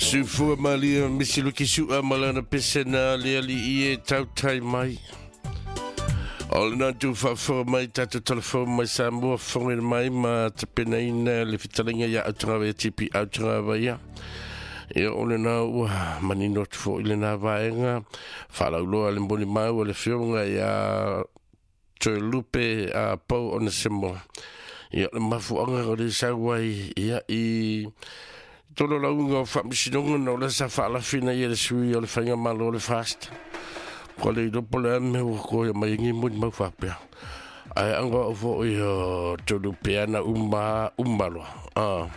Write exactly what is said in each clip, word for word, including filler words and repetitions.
Sufua malia misi luki sua malana pesena le ali i e tautai mai. O le nā tu whaafoa mai tātou telefone mai Samoa whongere mai ma te penaina le fitalinga ia autanga tipi autanga vaia. Ia o le nā ua manino atu fo i le nā vaenga whalauloa le mboni mau le fionga ia Toelupe a pau o na semo. Ia le mafuanga o le sauai ia i tolo launga o whaamisinonga na o le sa whaalafina ia le sui o le whainga malo le fast. Ko le ilopo le ame ua koe mai ngi mui mau whapea. Ai anga o fo i o tolu peana umba umbaloa. Ah.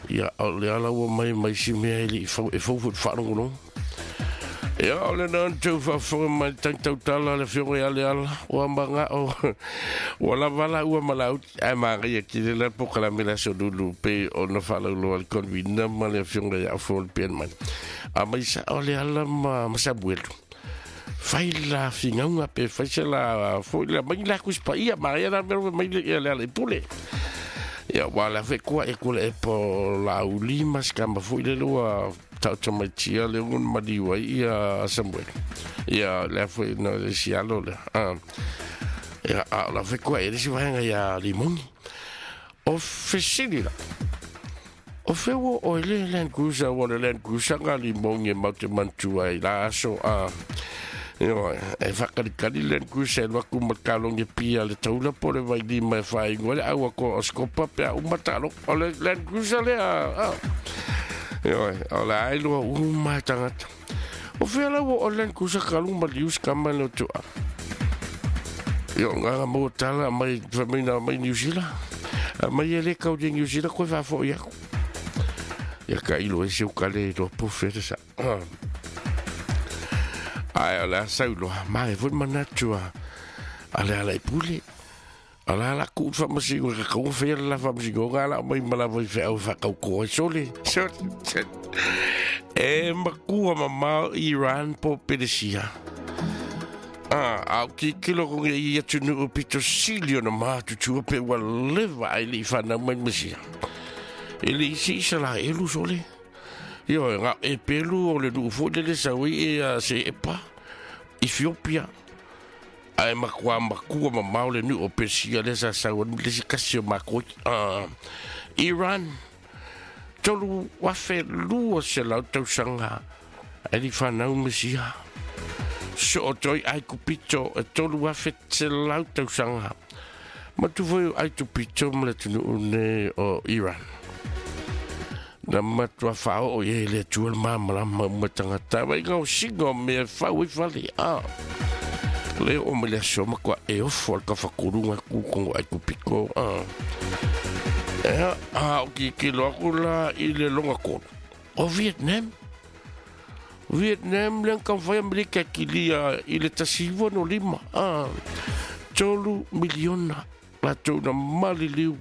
Ia o le ala ua mai mai si mea ili i fau e fau fut whaalongo. Ia o le nā tau whaafonga mai tang tautala le fionga ia le ala. Ua manga o ua lava ua malau. Ai maria ki le la po kala mela so lulu pe o na whalauloa le konvina ma le fionga ia fo le pian mai. A mai sa o le ala ma masabuelu. Fai la fingaunga pe fai se la fo la mai la kuspa ia maria la mero mai le le le pule. Ia wala fe kua e kule e po la uli mas kamba fo ile lua tau mai tia le un maliwa ia Samuel. Ia le fo no le sialo le. Ah. Ia a la fe kua e le si vaenga ia limoni. O fesili la. O fe wo o ile Land Cruiser o le Land Cruiser nga limoni e maute mantua i la aso a. Io e whakarikari Land Cruiser waku makalonge pia le taula po le vailima e whaingo le aua ko o skopa pea umatalo o le Land Cruiser le a. Io o le ailua uma tangata. O fea lau o Land Cruiser kalunga lius kama le otua. Io ngā mo tala mai whamina mai New Zealand. Mai ele kau di New Zealand koe whafo ia. Ia ka ilo e se ukale ro po fere sa. Ai o le sauloa, mai foi manatua. Ale ala i pule. Ala ala ku whamasi o ka kaunga whea la whamasi o ngā la mai malawa i whea o whakau koa sole. Sole. E makua mamao Iran po Peresia. Ah, au ki kilo konge i atu nu pito silio na mātutua pe ua lewa ai li whanau mai masia. E le isi isa la elu sole. Io ngā e pelu o le nuu fo le saui e a se epa Ethiopia. Ai makua makua mamao le nuu o Persia le sa saua le si kasi o makoi. Ah, Iran tolu wafe lua se lau tausanga ai li whanau masia. So o toi ai kupito e tolu wafe se lau tausanga. Matu foi ai tupito ma le tunu ne o Iran. Na matua whao o ye le tual māmalama umatangata. Wai ngau singo mea whau i whale. Ah. Le o me le aso makua e ofo al ka whakurunga kukongo ai kupiko. Ah. Ea, a o ki kilo aku la i le longa kolo. O Vietnam. Vietnam le ka whai Amerika ki lia i le tasiwa no lima. Ah. Tolu miliona la tōna maliliu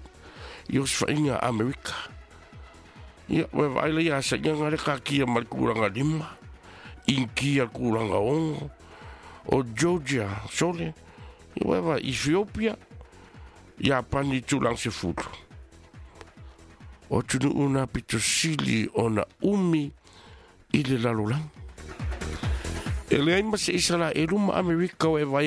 i oswhainga Amerika. Ia, we vaila ia sa ia ngare ka kia mal kuranga lima. Inkia kuranga ongo. O Georgia, sole. Ia we vai Ethiopia. Ia pani tulang se fulu. O tunu una pito sili o na umi i le lalolang. E le ai mase isa la e luma Amerika o e vai